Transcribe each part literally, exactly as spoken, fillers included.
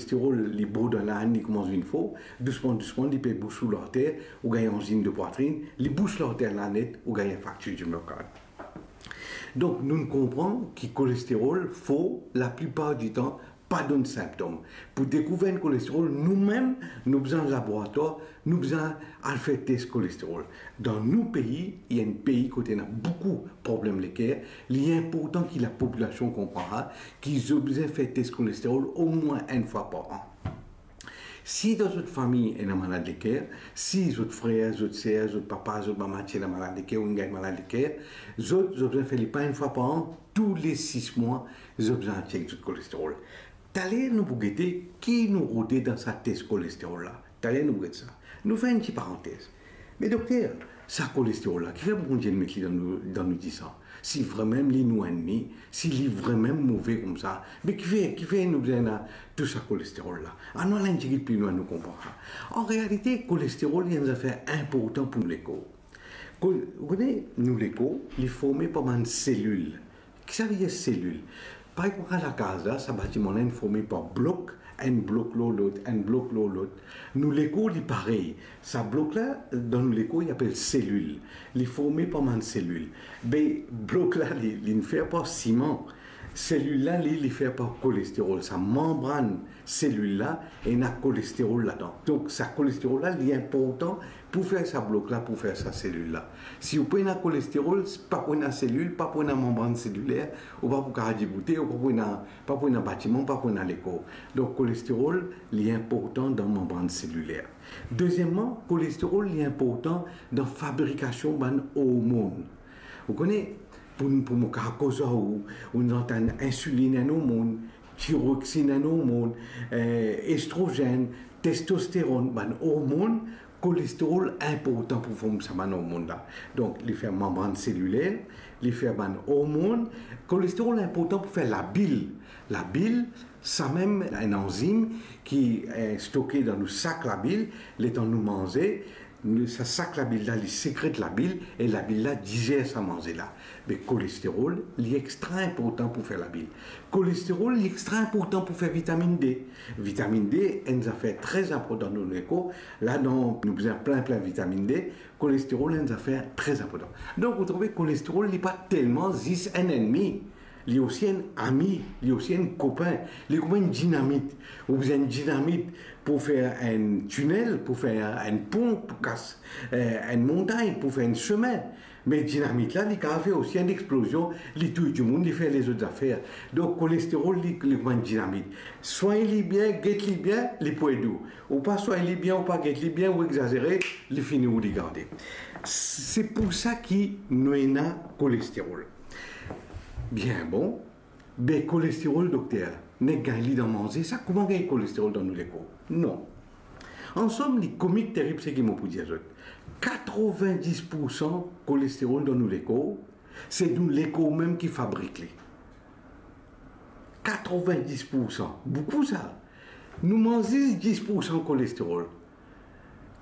Kolesterol, li borderline, li koumans vinn for, dousman, dousman, li pe bous ou larter, ou gagn anzin de pwatrin, li bous larter la net, ou gagn infraktir di myokard. Donk, nou konpran ki kolesterol for, laplipar ditan, pa donn sinptom. Pou dekouver enn kolesterol, noumem, nou bizin laboratwar, nou bizin al fer tes kolesterol. Dan nou pei, ena enn pei kot ena boukou problem leker, li inportan ki lapopilasion konpran sa, ki zot bizin fer tes kolesterol omwin enn fwa par an. Si dan zot fami ena malad leker, si zot frer, zot ser, zot papa, zot mama ti ena malad leker, ou inn gagn malad leker, zot, zot bizin fer li pa enn fwa par an, toule sis mwa, zot bizin al chek zot kolesterol. Taler nou pou gete ki nou rode dan sa tes kolesterol la. Taler nou pou gete sa. Nou fer enn ti parantez. Me dokter, sa kolesterol la, kifer Bondie met li dan nou, dan nou disan? Si vremem li nou ennmi, si li vremem move koumsa, me kifer, kifer nou bizin ena tou sa kolesterol la? Anou al enn tigit pli lwin, nou konpran sa. An realite, kolesterol, li enn zafer inportan pou nou lekor. Ko-, ou kone, nou lekor, li forme par bann selil. Kisavedir selil? Parey kouma lakaz la, sa batiman la inn forme par blok, enn blok lor lot, enn blok lor lot. Nou lekor li parey. Sa blok la, dan nou lekor, li apel selil. Li forme par bann selil. Be, blok la, li, li fer par siman. Selil la, li, li fer par kolesterol. Sa manbrann selil la, ena kolesterol ladan. Donk, sa kolesterol la, li inportan pou fer sa blok la, pou fer sa selil la. Si ou pena kolesterol, pa pou ena selil, pa pou ena manbrann seliler, ou pa pou kapav diboute, ou pa pou ena, pa pou ena batiman, pa pou ena lekor. Donk, kolesterol, li inportan dan manbrann seliler. Dezieman, kolesterol, li inportan dan fabrikasion bann ormonn. Ou kone, pou, pou mo kapav koz ar ou, ou inn antann insilinn, enn ormonn, tiroxine, enn ormonn, eh, estrozenn, testosteronn, bann ormonn, kolesterol inportan pou form sa bann ormonn la. Donk, li fer manbrann seliler, li fer bann ormonn. Kolesterol inportan pou fer labil. Labil, samem enn anzim ki, eh, stoke dan nou sak labil, letan nou manze, nou, sa sak labil la, li sekret labil, e labil la dizer sa manze la. Me kolesterol, li extra inportan pou fer labil. Kolesterol, li extra inportan pou fer vitaminn D. Vitaminn D, enn zafer tre inportan dan nou lekor. Ladan nou bizin plin, plin vitaminn D. Kolesterol, enn zafer tre inportan. Donk, ou trouve kolesterol, li pa telman zis enn ennmi. Li osi enn ami, li osi enn kopin. Li kouma enn dinamit. Ou bizin enn dinamit pou fer enn tinel, pou fer enn pon, pou kas, eh, enn montagn, pou fer enn semin. Me dinamit la, li kapav fer osi enn explozion, li touy dimoun, li fer lezot zafer. Donk, kolesterol, li, li kouma enn dinamit. Swagn li bien, get li bien, li pou ed ou. Ou pa swagn li bien, ou pa get li bien, ou exazere, li fini ou li garde. Se pou sa ki nou ena kolesterol. Bien bon, be kolesterol, dokter, nek gagn li dan manze, sa kouma gagn kolesterol dan nou lekor? Non. Ansom, li komik terib seki mo pou dir zot. Katrovin-dis poursan kolesterol dan nou lekor, se nou lekor mem ki fabrik li. Katrovin-dis poursan, boukou sa. Nou manz zis dis poursan kolesterol.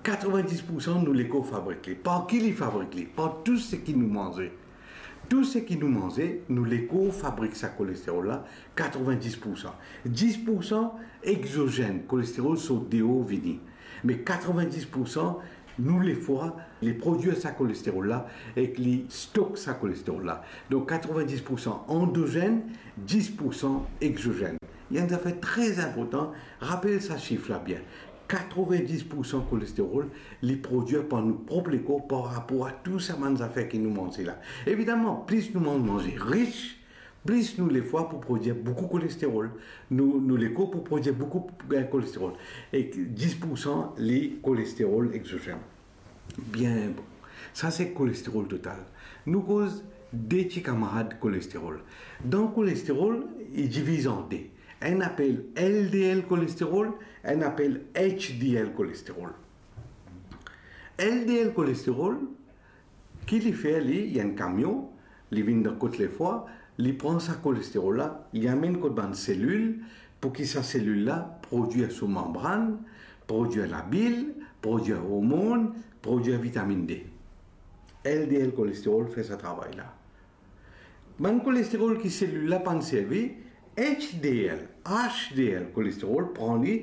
Katrovin-dis poursan nou lekor fabrik li. Par ki li fabrik li? Par tou seki nou manze. Tou seki nou manze, nou lekor fabrik sa kolesterol la, katrovin-dis poursan. Dis poursan exozenn, kolesterol sort deor vini. Me katrovin-dis poursan, nou lefwa, li prodwir sa kolesterol la, ek li stok sa kolesterol la. Donk, katrovin-dis poursan andozenn, dis poursan exozenn. Li enn zafer tre inportan, rapel sa sif la bien. Katrovin-dis poursan kolesterol, li prodwir par nou prop lekor par rapor a tou sa bann zafer ki nou manze la. Evidaman, plis nou manz manze ris, plis nou lefwa pou prodwir boukou kolesterol. Nou, nou lekor pou prodwir boukou, eh, kolesterol. E dis poursan, li kolesterol exozenn. Bien bon. Sa se kolesterol total. Nou koz de ti kamarad kolesterol. Dan kolesterol, li diviz an de. Enn apel L D L kolesterol, enn apel H D L kolesterol. L D L kolesterol, ki li fer li, li enn kamion, li vinn dan kot lefwa, li pran sa kolesterol la, li amenn kot bann selil, pou ki sa selil la prodwir so manbrann, prodwir labil, prodwir ormonn, prodwir vitaminn D. L D L kolesterol fer sa travay la. Bann kolesterol ki selil la pa'nn servi, H D L, H D L kolesterol pran li,